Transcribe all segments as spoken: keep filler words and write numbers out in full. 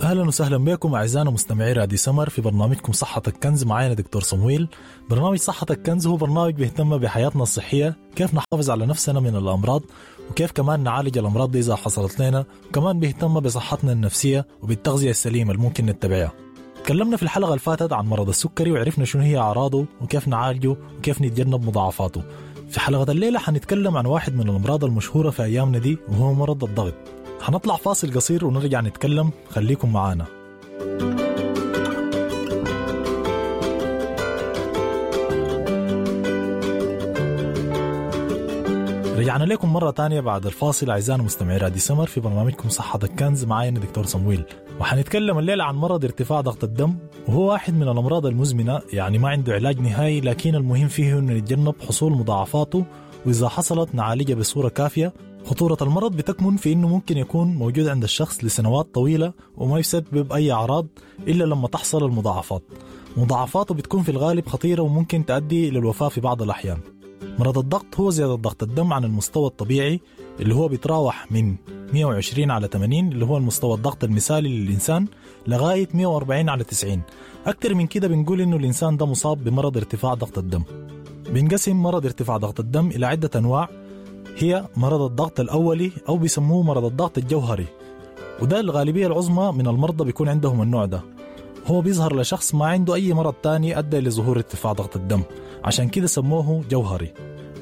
اهلا وسهلا بكم اعزائنا مستمعي راديو سمر في برنامجكم صحتك كنز. معانا دكتور صمويل. برنامج صحتك كنز هو برنامج بيهتم بحياتنا الصحية، كيف نحافظ على نفسنا من الامراض، وكيف كمان نعالج الامراض دي اذا حصلت لنا، وكمان بيهتم بصحتنا النفسية وبالتغذيه السليمة اللي ممكن نتبعها. تكلمنا في الحلقة اللي فاتت عن مرض السكري وعرفنا شنو هي اعراضه وكيف نعالجه وكيف نتجنب مضاعفاته. في حلقة الليلة حنتكلم عن واحد من الامراض المشهورة في ايامنا دي، وهو مرض الضغط. هنطلع فاصل قصير ونرجع نتكلم، خليكم معانا. رجعنا لكم مرة تانية بعد الفاصل أعزائنا مستمعي راديو سمر في برنامجكم صحتك كنز. معايا دكتور صمويل، وحنتكلم الليلة عن مرض ارتفاع ضغط الدم، وهو واحد من الأمراض المزمنة، يعني ما عنده علاج نهائي، لكن المهم فيه إنه نتجنب حصول مضاعفاته، وإذا حصلت نعالجها بصورة كافية. خطورة المرض بتكمن في إنه ممكن يكون موجود عند الشخص لسنوات طويلة وما يسبب أي أعراض إلا لما تحصل المضاعفات. مضاعفاته بتكون في الغالب خطيرة وممكن تؤدي للوفاة في بعض الأحيان. مرض الضغط هو زيادة ضغط الدم عن المستوى الطبيعي اللي هو بيتراوح من مئة وعشرين على ثمانين اللي هو المستوى الضغط المثالي للإنسان لغاية مئة وأربعين على تسعين. أكثر من كده بنقول إنه الإنسان ده مصاب بمرض ارتفاع ضغط الدم. بينقسم مرض ارتفاع ضغط الدم إلى عدة أنواع، هي مرض الضغط الأولي أو بيسموه مرض الضغط الجوهري، وده الغالبية العظمى من المرضى بيكون عندهم النوع ده. هو بيظهر لشخص ما عنده أي مرض تاني أدى لظهور ارتفاع ضغط الدم، عشان كده سموه جوهري.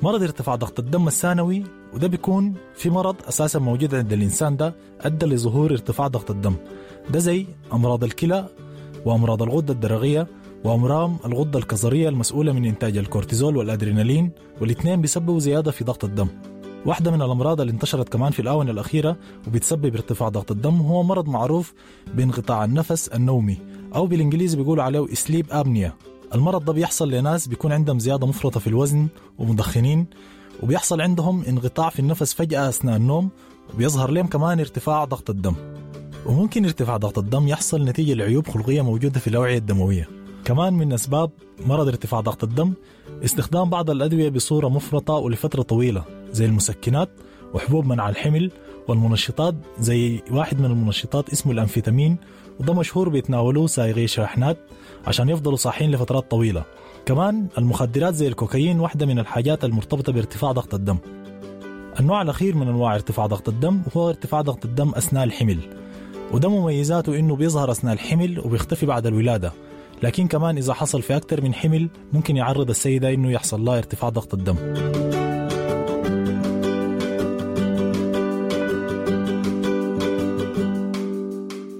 مرض ارتفاع ضغط الدم الثانوي، وده بيكون في مرض أساسا موجود عند الإنسان ده أدى لظهور ارتفاع ضغط الدم، ده زي أمراض الكلى وأمراض الغدة الدرقية وأمراض الغدة الكظرية المسؤولة من إنتاج الكورتيزول والأدرينالين، والاثنين بيسببوا زيادة في ضغط الدم. واحدة من الأمراض اللي انتشرت كمان في الآونة الأخيرة وبتسبب ارتفاع ضغط الدم هو مرض معروف بانقطاع النفس النومي، أو بالإنجليزي بيقولوا عليه sleep apnea. المرض ده بيحصل لناس بيكون عندهم زيادة مفرطة في الوزن ومدخنين، وبيحصل عندهم انقطاع في النفس فجأة أثناء النوم، وبيظهر لهم كمان ارتفاع ضغط الدم. وممكن ارتفاع ضغط الدم يحصل نتيجة لعيوب خلقية موجودة في الأوعية الدموية. كمان من أسباب مرض ارتفاع ضغط الدم استخدام بعض الأدوية بصورة مفرطة ولفترة طويلة زي المسكنات وحبوب منع الحمل والمنشطات، زي واحد من المنشطات اسمه الأمفيتامين، وده مشهور بيتناولوه سائقي شاحنات عشان يفضلوا صاحين لفترات طويلة. كمان المخدرات زي الكوكايين واحدة من الحاجات المرتبطة بارتفاع ضغط الدم. النوع الأخير من أنواع ارتفاع ضغط الدم هو ارتفاع ضغط الدم أثناء الحمل، وده مميزاته إنه بيظهر أثناء الحمل وبيختفي بعد الولادة، لكن كمان إذا حصل في أكثر من حمل ممكن يعرض السيدة إنه يحصل لها ارتفاع ضغط الدم.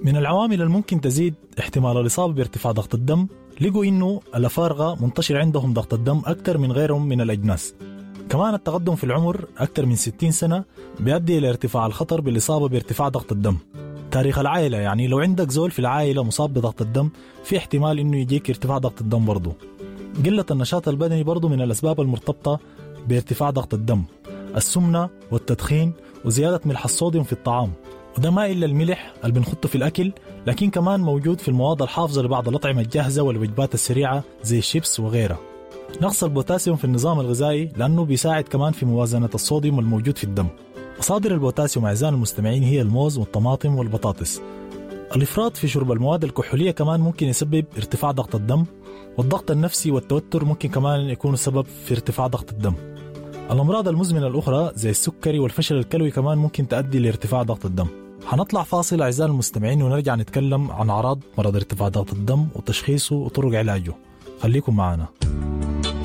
من العوامل الممكن تزيد احتمال الإصابة بارتفاع ضغط الدم، لقوا إنه الأفارقة منتشر عندهم ضغط الدم أكثر من غيرهم من الأجناس. كمان التقدم في العمر أكثر من ستين سنة بيؤدي إلى ارتفاع الخطر بالإصابة بارتفاع ضغط الدم. تاريخ العائلة، يعني لو عندك زول في العائلة مصاب بضغط الدم في احتمال إنه يجيك ارتفاع ضغط الدم برضو. قلة النشاط البدني برضو من الأسباب المرتبطة بارتفاع ضغط الدم. السمنة والتدخين وزيادة ملح الصوديوم في الطعام، وده ما إلا الملح اللي بنحطه في الأكل، لكن كمان موجود في المواد الحافظة لبعض الأطعمة الجاهزة والوجبات السريعة زي الشيبس وغيرها. نقص البوتاسيوم في النظام الغذائي لأنه بيساعد كمان في موازنة الصوديوم الموجود في الدم. مصادر البوتاسيوم أعزائي المستمعين هي الموز والطماطم والبطاطس. الإفراط في شرب المواد الكحولية كمان ممكن يسبب ارتفاع ضغط الدم، والضغط النفسي والتوتر ممكن كمان يكون سبب في ارتفاع ضغط الدم. الأمراض المزمنة الأخرى زي السكري والفشل الكلوي كمان ممكن تؤدي لارتفاع ضغط الدم. هنطلع فاصل أعزائي المستمعين ونرجع نتكلم عن أعراض مرض ارتفاع ضغط الدم وتشخيصه وطرق علاجه. خليكم معنا.